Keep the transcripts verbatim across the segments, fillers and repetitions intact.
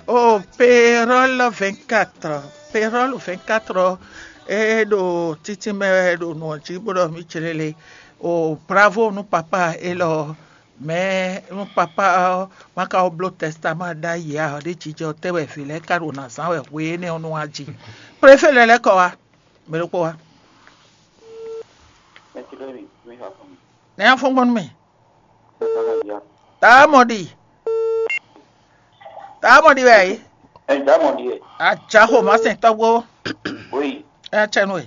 O payroll vingt-quatre, payroll vingt-quatre, e ɖo títí mɛ wɛ ɖo nǔ ɔ́ jí bó ɖɔ mí clélé. O bravo nú papa élɔ́. Mɛ nú papa ɔ́ ma ka wó bló tɛstamá ɖ'ayǐ ǎ, ɖé jijɛ tɛ́ wɛ vǐ lɛ́ɛ ka ɖo nǎ zán wɛ hwe énɛ́ ɔ́ nú wá jí. Préfé lɛ́ lɛ́ kɔ wá, mɛ ɖokpó wá. Nɛ́ afɔ́ngbɔn nú mì. Tá mɔ ɖi. Tá mɔ ɖi wɛ yí. Ɛ dá mɔ ɖi ɛ. Ajaxo ma sɛn tɔgbo. Oyi. Ɛ tsɛ nu e.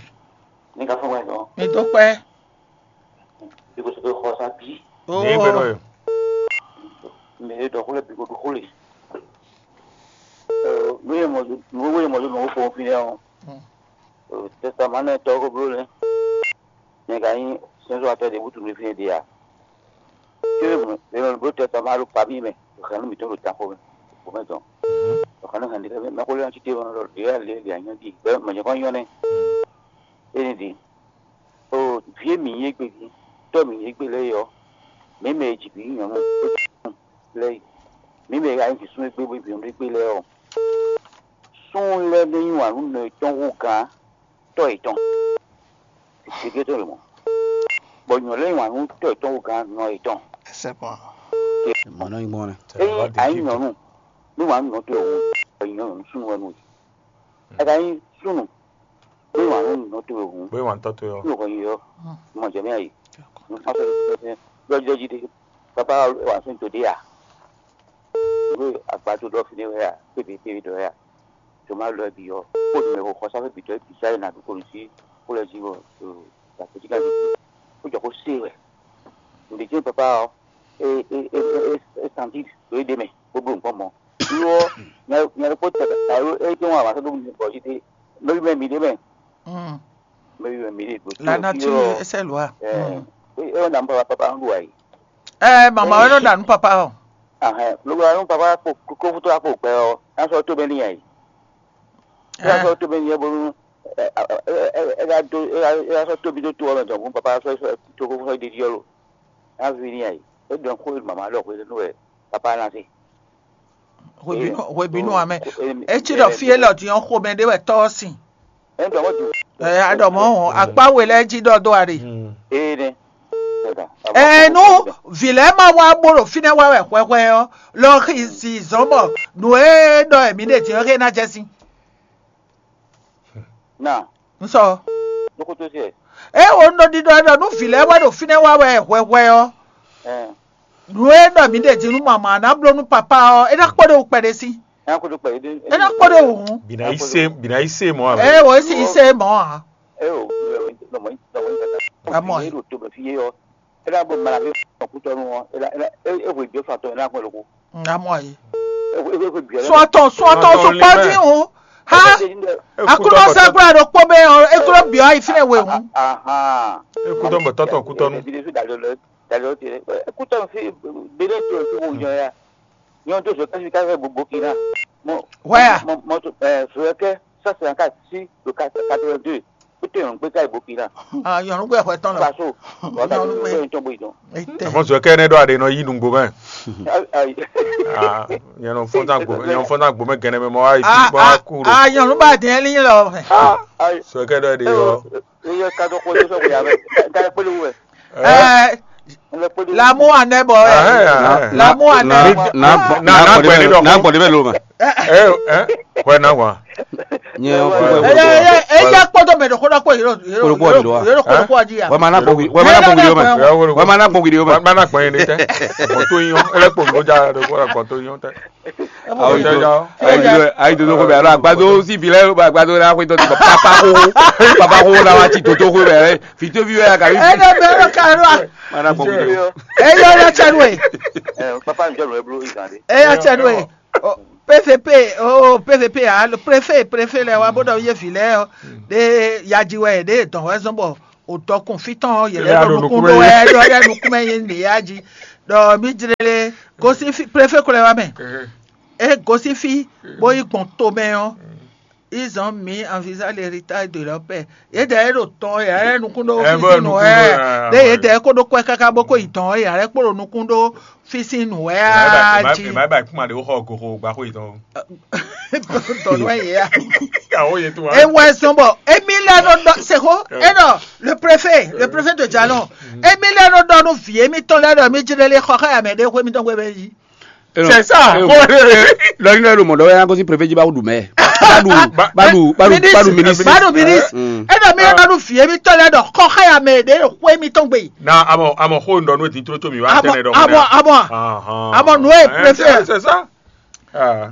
Ní ká fún wɛ dɔn. Mi dó kpɛ. Bí kò sọ pé xɔ sá bí. Ní gbé nɔ e. Mɛ e dɔ xó lɛ bí kò dó xó lè. Nú yɛ mɔ nú wɛ mɔ ló nɔ fɔn fi nɛ ɔ. Tɛstamá nɛ tɔgbo bló lɛ. Nyɛ ka nyí sɛnzɔ́watɔ́ ɖě bútu nú fínɛ́ ɖe a? Cóbɔ è nɔ bló tɛ́ tɔn ma ɖo fabíi mɛ, ɖo xɛ̌nú mǐtɔn ɖo danxo mɛ, xo mɛ tɔn. Ɖo xɛ̌nú hɛn ɖě mɛ xó lɛ́ɛ ɔ́ títí ɔ́ ɖɔ ɖě wɛ lě lě anyɔ́ ɖi bɔ mɔ̌ nyɔ́kɔ́ nyɔ́ nɛ́. Énɛ́ ɖi. O vǐ e mǐ nyí égbé din, tɔ́ mǐ nyí égbé lɛ́ɛ é ɔ́, mǐ mɛ e ji bǐ nyí nyɔ̌nu lɛ́ɛ é, mǐ mɛ e ka nyí vǐ súnnu égbé bó nyí vǐ nyɔ̌nu égbé lɛ́ɛ ɔ́, súnnu lɛ́ɛ nɔ yí wǎn nú nɔ yětɔn hú gǎn tɔ́ yětɔn. Gěgé tɔn lě mɔ̌. Bɔ nyɔ̌nu lɛ́ɛ yí wǎn nú tɔ́ yětɔn hú gǎn nɔ yětɔn. C'est bon. Mɔ̌ nɔ nyí gbɔn nɛ. Ényí a nyí nyɔ̌nu, ní wǎn nú nɔ towe hǔn, bɔ nyɔ̌nu súnnu wɛ nú we. A ka nyí súnnu, ní wǎn nú nɔ towe hǔn, Bóyá wà ń tọ́ tó yọ. Ní wǎn yí ɔ́, mɔ jɛ mɛ ayǐ. Ní fásitì lɔjɔji ɖé, bàbá wà sún tó dé à. Ìwé àgbàdo lɔ fi ní wɛ à, pépè pépè dɔ wɛ à. Tó má lɔ ẹ bì ɔ, kó nu mɛ xɔ xɔsá fɛ bì tɔ ẹ bì sáyé nà dúkòlù sí kó lɛ jí wɔ, ɔ, la kó jí ká jí. Kó jɔ kó sé wɛ. Ǹdè jẹ́ bàbá ɔ, é é é é é santi ló é dé mɛ, bó bló nǹkan mọ́. Ló ɔ, nya nya kó tɛ alo é jẹ́ wọn àwọn akẹ́kọ̀ọ́ mi bọ̀ jí dé, lórí mẹ́ mi dé mɛ. Mm. Mɛ mi dé dó. La nature essaie loi. Ɛ, é ɔ́ nà ń bá papa ń lu àyè. Ɛ mama wɛ nɔ ɖa nú papa ɔ. Ahɛn, lóko anú papa kó kó fútó akpó gbɛ ɔ, ná sɔ tó bɛ ní yà yìí. Ná sɔ tó bɛ ní yà bónú. Ɛ ká dó ɛ ká sɔ tóbi tó tó ɔmɛ tɔn fún papa sɔ sɔ tó kó fútó ɖéɖí ɔlò. Ná fi ní yà yìí. É dɔn kó mama lɔ xwé nú ɛ papa ná sí. Hwebínú hwebínú amɛ. Etsi ɖɔ fí élɔ́ din ɔ́ xomɛ ɖé wɛ tɔ́ ɔ́ sin. Ɛ ɖɔ mɔ̌ din. Ɛ aɖɔ mɔ̌ hɔn akpá we lɛ́ɛ jí ɖɔ dó aɖe. Ee nɛ. Ɛ nú vǐ lɛ́ɛ ma wá bó ɖo fínɛ́ wá wɛ hwɛhwɛ ɔ́, lɔ xi si zɔ̌n bɔ nǔ e ɖɔ mǐ ɖe din ɔ́ xé ná jɛ sín. Na. Un sɔ. Lókútú sí ɛ. É wo un ɖo ɖiɖɔ ɖɔ nú vǐ lɛ́ɛ wɛ ɖo fínɛ́ wá wɛ hwɛhwɛ ɔ́, Ɛ. Nǔ e ɖɔ mǐ ɖe din nú mama ná bló nú papá ɔ́, é ná kpɔ́ ɖe wú kpɛɖé sí. Ɛ ná kpɔ́ ɖe wú hǔn. Bìnà yí sé bìnà yí sé mɔ̌ ǎ. É wo é sì yí sé mɔ̌ ǎ. Ɛ o lɔmɔ yí lɔmɔ yí tata. Amɔ. Yé ɖo to bɛ fi yé ɔ. É ná bɔ mala fi kútɔnu ɔ. É ná é ná é hwe gbé fa tɔ é ná gbɔn loko. Amɔ yí. É hwe é hwe gbé. Sɔtɔ sɔtɔ sukpɔ dín o. Ha. Akúnɔ sɛkúrà ɖo kpó bɛ ɔ é kúrò bìɔ ayi fínɛ we hǔn. Ahan. É kútɔ bɔ tɔtɔ kútɔnu. Bi de fi dali lɛ dali lɛ ti lɛ. Kútɔ fi bele to fi wo nyɔ ya. Nyɔ to so kasi kasi bo Burkina. Mo. Where? Mo mo to eh so ke ça c'est en cas si le quatre-vingt-deux. Kútɔ yɔn gbé ká Burkina. Ah yɔn gbé hwɛ tɔn lɔ. Paso. Wa ka to ko en tombo idon. Àmọ́ sọ kẹ́ ẹ ní dọ́ àdé nọ yí nùgbò mẹ́. Ayi. Ah, yẹn nọ fọ́n tán gbò yẹn nọ fọ́n tán gbò mẹ́ gẹ́nẹ́ mẹ́ mọ́ ayi tí wọ́n á kú ro. Ah yɔn ba dín ẹni lọ. Ayi. Sọ kẹ́ dọ́ ẹ dé yọ. Iye ka dɔ kpɔtɔ sɔ kò yà bɛ ka yà kpɛlɛ wɛ. Ɛ. Lamu anɛ bɔ ɛ. Lamu anɛ. Na na gbɛni dɔ. Na gbɛni bɛ lo ma. Ɛ ɛ kɔɛ na wa. Eye kpɔtɔ mɛ dɔ kɔdɔ kpɔ yɔrɔ yɔrɔ kɔdɔ kpɔ aji ya. Wɛ ma na gbɔ wi wɛ ma na gbɔ wi yɔ mɛ. Wɛ ma na gbɔ yin de tɛ. Gbɔn to yin o. Ele kpɔ nko ja do kɔdɔ gbɔn to yin o tɛ. Ayi dodo ko bɛ alo agbado si bi lɛ agbado la ko to papa ko papa ko la wa ti toto ko bɛ fito bi wɛ ka bi. Ene bɛ ro ka ro. Mana ko bi. E yo ya tse nue. Papa njɔ nue blo ikan de. E ya tse nue. P V P o P V P a préfet préfet lɛ wa bó dɔ ye vi lɛ de yaji wɛ de dɔn wɛ zɔn bɔ o dɔkun fitɔn yɛlɛ dɔ nukun do wɛ dɔ yɛ nukun mɛ ye ne yaji dɔ mi jlele gosi préfet ko lɛ wa mɛ. E gosi fí bó yi gbɔn tomɛ ɔ́, Ils ont mis en visa l'héritage de leur père. Yědɛɛ ɖo tɔn yǎ lɛ́ nukún ɖó fífín nǔ wɛ. Ɖé yědɛɛ kó ɖó kwɛ́ káká bó kó yi tɔn yǎ lɛ́ kpó ɖo nukún ɖó fífín nǔ wɛ á jí. Ema ba kuma ɖe wó xɔ goxo gba xó yětɔn. Tɔn nú ɛ yě ya. Awo yě tó wa. Ewɔ ɛsɔn bɔ emi lɛ nɔ dɔ seko enɔ le préfet le préfet de jalon emi lɛ nɔ dɔ nu vi emi tɔn lɛ dɔ mi jlɛ le xɔ xɛ amɛ ɖe xó emi tɔn gbɛ bɛ yi. C'est ça. Lɔri nɔ ɖo mɔdɔ wɛ yanko si préfet ji ba ɖu mɛ. Badu badu badu badu ministre. Badu ministre. Enɔ mi lɛ nɔ nu vi emi tɔn lɛ dɔ xɔ xɛ amɛ ɖe xó emi tɔn gbɛ yi. Na amɔ amɔ xó ndɔ nu edi tro to mi wa tɛnɛ dɔ. Amɔ amɔ amɔ amɔ nu ye préfet. C'est ça. Ah.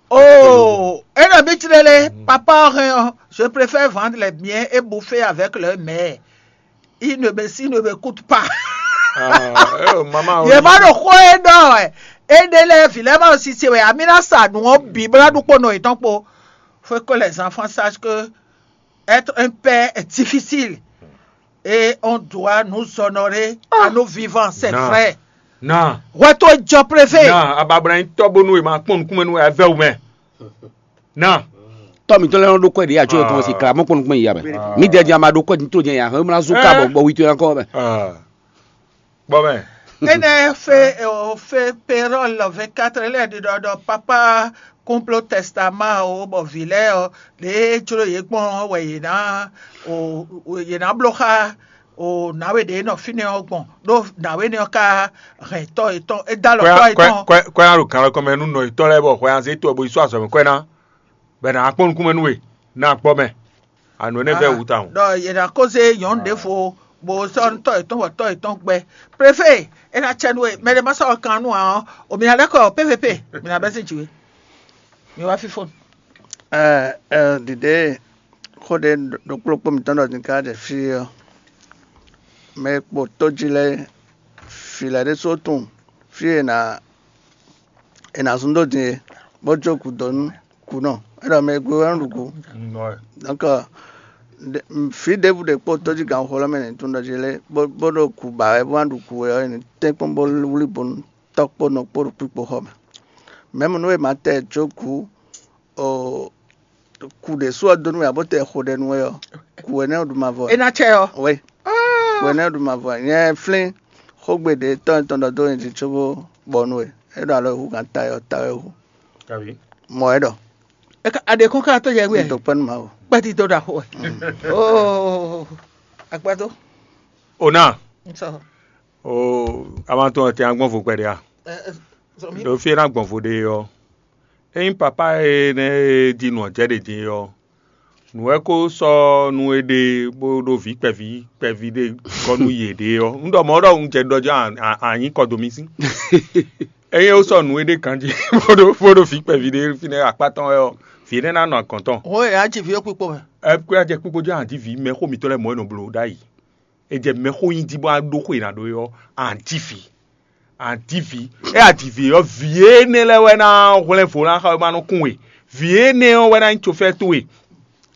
Oh, et le but de papa rien, je préfère vendre les biens et bouffer avec le maire. Il ne me, s'il ne m'écoute pas. Ah, eh, maman, il va le croire non. Et de les vilains aussi, c'est vrai. Amina sa nous on bibla du kono et ton po. Faut que les enfants sachent que être un père est difficile. Et on doit nous honorer à nos vivants, c'est vrai. Non. Retour Job préfet. Non, ababra in tɔbonu e ma kpɔn nukun mɛ nu e avɛ o mɛ. Nɔ. Tɔ mǐtɔn lɛ́ɛ nɔ ɖó kwɛ́ ɖě ǎ có yě kɔn si kla mɔ kpɔ́n nukún mɛ yi ya mɛ. Mǐdɛɛ din a ma ɖó kwɛ́ din tló din ya hɛn mlá zú ká bɔ bɔ wi towe ná kɔ mɛ. Bɔ mɛ. Énɛ́ fé o fé pérɔl vingt-quatre lɛ́ɛ ɖiɖɔ ɖɔ papa complot testament o bɔ vǐ lɛ́ɛ ɔ ɖě jló yě gbɔn ɔ́ wɛ yě ná o yě ná bló xá o nǎwe ɖě nɔ fínɛ́ ɔ́ gbɔn ɖó nǎwe nɛ́ ɔ́ ka hɛn tɔ́ yětɔn é dó alɔ tɔ́ yětɔn. Kwɛ ná ɖo kan lɔ kɔn mɛ nú nɔ yětɔn lɛ́ɛ bɔ hwɛ ná zé to ɔ́ bó yi sɔ́ azɔ̌ mɛ kwɛ ná, bɔ è nǎ kpɔ́n nukún mɛ nú we, ná gbɔ mɛ. Ànǔ énɛ́ vɛ́ wú tawun. Ɖɔ yě ná kó zé nyɔ̌nu ɖěvo bó sɔ́ nú tɔ́ yětɔn bɔ tɔ́ yětɔn gbɛ. Préfé, é ná cɛ nú we, mɛ ɖé má sɔ́ kan nú ǎ ɔ́, o mǐ ná lɛ́ kɔ P V P, mǐ ná bɛ́ sín jǐ we. Mi wá fífó. Ɛ ɛ ɖiɖe xó ɖé ɖokpló kpó mǐtɔn ɖɔ din ká ɖe fí ɔ́, mɛ e kpo tó jí lɛ́ɛ, vǐ lɛ́ɛ ɖésú tunwun fí e è nǎ è nǎ zún dó din é, bó jó gǔdo nú kǔnɔ. É ɖɔ mɛ e gbe wɛ nɔ ɖu gǔ. Donc vǐ ɖěbǔ ɖě kpo tó jí ganxixo lɛ́ɛ mɛ nǐ tunwun ɖɔ jí lé bó ɖo gǔ ba wɛ bó ná ɖu gǔ wɛ ɔ́, è nǐ tɛ́nkpɔ́n bó wlí bo nú tɔ́ kpó nɔ kpó ɖo kpíkpo xɔ mɛ. Mɛ̌mu nú è ma tɛ jó gǔ o kú ɖě sú ɔ́ dó nú we ǎ bó tɛ xo ɖɛ nú we ɔ́, kú we nɛ́ ɖu mavɔ. É ná cɛ ɔ́. Oui. Kú we nɛ́ ɖu mavɔ. Nyɛ flín xógbe ɖě tɔ́ nyitɔn ɖɔ dó nyi din cóbó bɔ nú we. É ɖo alɔ e hú gǎn ta ɔ́ ta wɛ hú. Mɔ ɛ ɖɔ. Aɖe kɔn ká tó yɛ wɛ. Dó kpɛ́ nú Mawu. Kpɛ́ ti dó ɖo axo wɛ. Oo, agbado. Ona. Nsɔ. Oo, a ma tɔn tɛ agbɔn vo kpɛɖe a? Ɖo fí e ná gbɔn vo ɖe ɔ́, ényí papa énɛ́ e jí nǔ ɔ́ jɛ ɖě din ɔ́, nǔ wɛ ko sɔ́ nú é ɖe bó ɖó vǐ kpɛví kpɛví ɖé gɔ́ nú yě ɖe ɔ́, un ɖɔ mɔ̌ ɖɔ un jɛ ɖɔ jɛ a nyǐ kɔ dó mì sín. Ényí é sɔ́ nǔ é ɖe ganjí bó ɖó bó ɖó vǐ kpɛví ɖé fínɛ́ akpá tɔn wɛ ɔ́, vǐ énɛ́ ná nɔ agɔ̌n tɔn. Hɔn e a ji vǐ é kpikpo mɛ. Ɛ kó a jɛ kpikpo jɛ a ji vǐ mɛ xó mǐtɔn lɛ́ɛ mɔ̌ e nɔ bló ɖ'ayǐ. È jɛ mɛxó nyi jí bó wá ɖó xó e è nǎ ɖó é ɔ́, a nǎ ji vǐ. A nǎ ji vǐ. Ée a ji vǐ ɔ́, vǐ énɛ́ lɛ́ɛ wɛ ná hwlɛ́n vo ná xa wɛ ma nɔ kún we. Vǐ énɛ́ ɔ́ wɛ ná nyí cofɛ́ towe.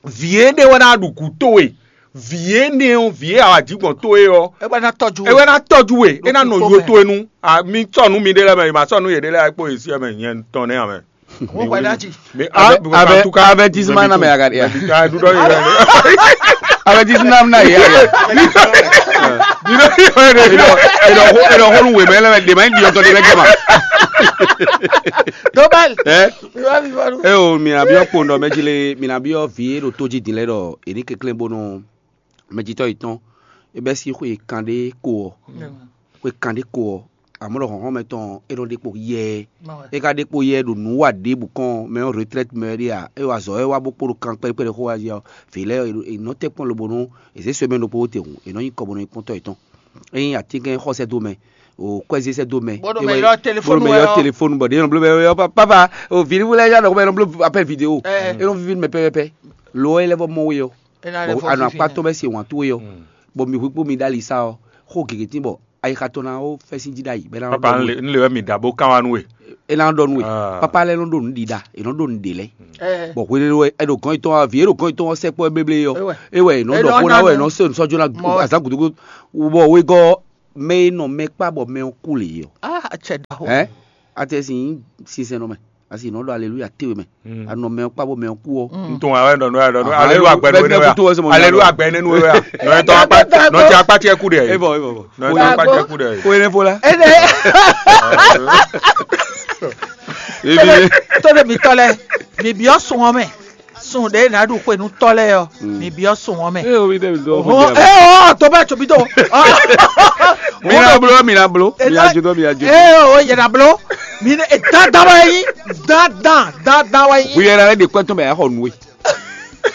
Vǐ énɛ́ wɛ ná ɖu gǔ towe. Vǐ énɛ́ ɔ́, vǐ e a wǎ jí gbɔn towe ɔ́, é wɛ ná tɔ́jú é wɛ ná tɔ́jú we. É ná nɔ yo towe nu. Mi sɔ́ nǔ miɖée lɛ́ɛ mɛ, è ma sɔ́ nǔ yěɖée lɛ́ɛ kpó yě sí ɛ mɛ nyɛ tɔn nɛ́ ǎ mɛ. Wọ́n pẹ̀lú àjì. Avertissement na mɛ aga ya. Avertissement na ya. Eɖɔ eɖɔ hɔnu wɛ mɛ lɛ de ma di ɔtɔ de mɛ gɛma. Dobal. Ɛ. Ɛ o, mina biɔ kpondɔ mɛ jile, mina biɔ vi e ɖo to ji din lɛ ɖɔ eni kekle bonu mɛjitɔ yetɔn e bɛ si xwe kan ɖe ko ɔ. Xwe kan ɖe ko ɔ, amɔ̌ ɖɔ hlɔ̌nhlɔ́n mɛtɔn ɔ́, é nɔ ɖe kpo yɛɛ. É ka ɖe kpo yɛɛ ɖo nǔ wa ɖěbǔ kɔn mɛ ɔ́ retraite mɛ wɛ ɖe a? É wa azɔ̌ wɛ wá bó kpo ɖo kan kpɛɖé kpɛɖé xó wá jí ɔ́, vǐ lɛ́ɛ è nɔ tɛ́nkpɔ́n lobo nú è zě semaine ɖokpó tɛhun, è nɔ nyi kɔ bó nɔ nyi kpɔ́ntɔ́ yětɔn. Ényí atínkɛn xɔ sɛ́ dó mɛ, o kwɛ́zé sɛ́ dó mɛ, bó ɖo mɛ ylɔ́ téléphone bɔ ɖě nɔ bló mɛ ylɔ́ papa, o vǐ ɖíbú lɛ́ɛ yá nɔ mɛ nɔ bló appel vidéo, é nɔ víví nú mɛ pɛ́pɛ́pɛ́. Lo ɔ́ é lɛ́ vɔ mɔ we ɔ́, bɔ a nɔ akpá tɔn bɛ́ se wǎn towe ɔ́, bɔ mi hu kpó mi ɖó ali sá ɔ́, xó gěgé tín bɔ ayixa tɔn ná ó fɛ́ sín jí ɖ'ayǐ bɔ é ná. Papa, un le un le wɛ mi ɖa bó kán wá nú we. É ná ɖɔ nú we. Papa lɛ́ɛ nɔ ɖo nǔ ɖiɖa, è nɔ ɖo nǔ ɖe lɛ́ɛ. Bɔ hwenɛ́nu wɛ è ɖo gɔn yětɔn ɔ́, vǐ e ɖo gɔn yětɔn ɔ́ sɛkpɔ́ éblé ɔ́, é wɛ è nɔ ɖɔ xó ná wɛ è nɔ se nǔ sɔ́ jó ná azǎn gǔdo bɔ wegɔ́ mɛ e nɔ mɛ kpá bɔ mɛ ɔ́ kú lě ɔ́. Hɛn, a tɛ sin sinsɛn nɔ mɛ. Parce que nɔ ɖɔ aleluya te we mɛ. Anɔ mɛ kpa bo mɛ kú ɔ. Ntun awɛ nɔ nɔ nɔ Aha, aleluya yo, gbɛ bɛ- nɔ bɛ kutu wɛ sɛ mo aleluya nya gbɛ nɔ nɔ nɔ tɔ akpa nɔ tɛ akpa tiɛ ku de. Ebɔ ebɔ bɔ. Nɔ tɔ akpa tiɛ ku de. Ko yẹn fo la. Ene Ebi tó de mi tɔ lɛ, mi biɔ sun ɔ mɛ, sun ɖe na ɖu xwe nu tɔ lɛ yɔ, mi biɔ sun ɔ mɛ. Ee omi dɛ mi dɔ. Hɔn ee ɔ tɔ bɛ tso bi tɔ. Mi na blo mi na blo. Mi na jo dɔ mi na jo. Ee o yɛ na blo, mi ne e dandan wa yi, dandan dandan wa yi. Wi yɛrɛ ale de kpɛtɔ mɛ a xɔ nue.